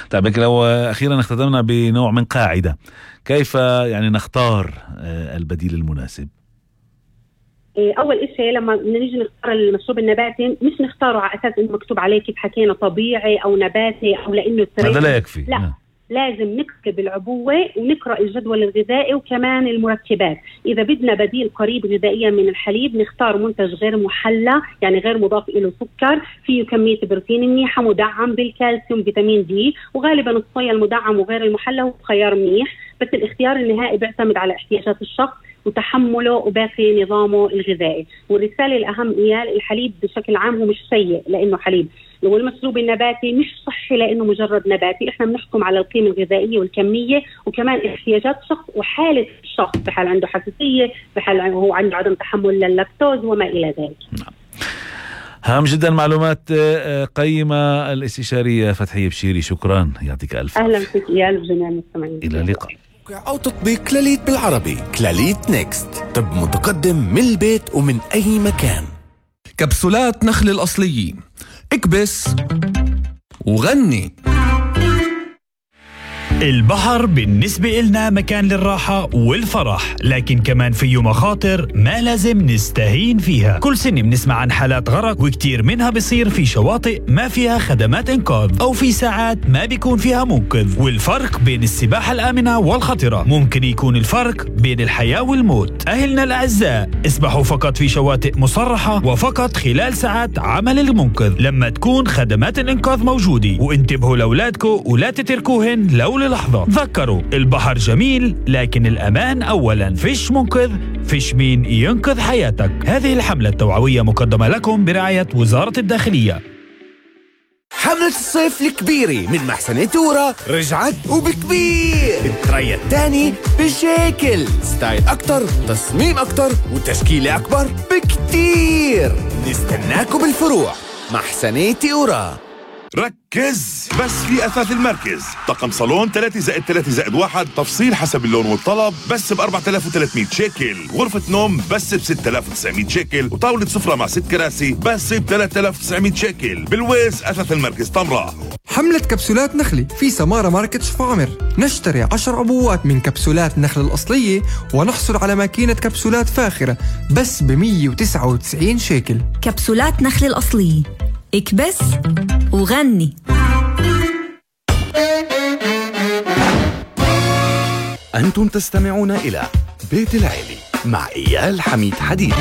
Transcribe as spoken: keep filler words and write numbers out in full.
طيب لو أخيرا اختتمنا بنوع من قاعدة، كيف يعني نختار البديل المناسب؟ اول اشي لما نيجي نختار المشروب النباتي مش نختاره على اساس انه مكتوب عليه كيف حكينا طبيعي او نباتي او لانه هذا لا يكفي. لا م. لازم نكتب العبوة ونقرأ الجدول الغذائي وكمان المركبات. إذا بدنا بديل قريب غذائيا من الحليب نختار منتج غير محلى، يعني غير مضاف إله سكر، فيه كمية بروتين منيحة، مدعم بالكالسيوم فيتامين دي، وغالبا الصويا المدعم وغير المحلى هو خيار منيح، بس الاختيار النهائي بيعتمد على احتياجات الشخص وتحمله وباقي نظامه الغذائي. والرسالة الأهم إياه الحليب بشكل عام هو مش سيء لأنه حليب، والمشروب النباتي مش صحي لأنه مجرد نباتي. إحنا بنحكم على القيمة الغذائية والكمية وكمان احتياجات الشخص وحالة الشخص، في حال عنده حساسية، في حال هو عنده عدم تحمل لللاكتوز وما إلى ذلك. نعم. هام جدا، معلومات قيمة. الاستشارية فتحية بشيري، شكرا، يعطيك ألف عافية. أهلا فيك يا الجميع المستمعين. إلى اللقاء. أو تطبيق كلاليت بالعربي. كلاليت نيكست، طب متقدم من البيت ومن أي مكان. كبسولات نخل الأصليين، اكبس وغني. البحر بالنسبة إلنا مكان للراحة والفرح، لكن كمان فيه مخاطر ما لازم نستهين فيها. كل سنة بنسمع عن حالات غرق، وكتير منها بيصير في شواطئ ما فيها خدمات إنقاذ أو في ساعات ما بيكون فيها منقذ. والفرق بين السباحة الآمنة والخطرة ممكن يكون الفرق بين الحياة والموت. أهلنا الأعزاء، اسبحوا فقط في شواطئ مصرحة وفقط خلال ساعات عمل المنقذ لما تكون خدمات الإنقاذ موجودة، وانتبهوا لأولادكم ولا تتركوهن لو لحظة. تذكروا، البحر جميل لكن الأمان أولا. فيش منقذ، فيش مين ينقذ حياتك. هذه الحملة التوعوية مقدمة لكم برعاية وزارة الداخلية. حملة الصيف الكبيرة من محسنة تورا رجعت وبكبير. التريا الثاني بشكل ستايل أكتر، تصميم أكتر، وتشكيلة أكبر بكتير. نستناكم بالفروع. محسنة تورا. ركز بس في أثاث المركز. طقم صالون ثلاثة زائد ثلاثة زائد واحد، تفصيل حسب اللون والطلب، بس ب أربعة آلاف وثلاثمية شيكل. غرفة نوم بس ب ستة آلاف وتسعمية شيكل، وطاولة سفرة مع ست كراسي بس ب ثلاثة آلاف وتسعمية شيكل. بالويز أثاث المركز طمرة. حملة كبسولات نخلي في سمارة ماركت شفاعمر. نشتري عشر عبوات من كبسولات نخل الأصلية ونحصل على ماكينة كبسولات فاخرة بس ب مية وتسعة وتسعين شيكل. كبسولات نخل الأصلية، اكبس وغني. أنتم تستمعون إلى بيت العيلة مع إيال حميد حديد.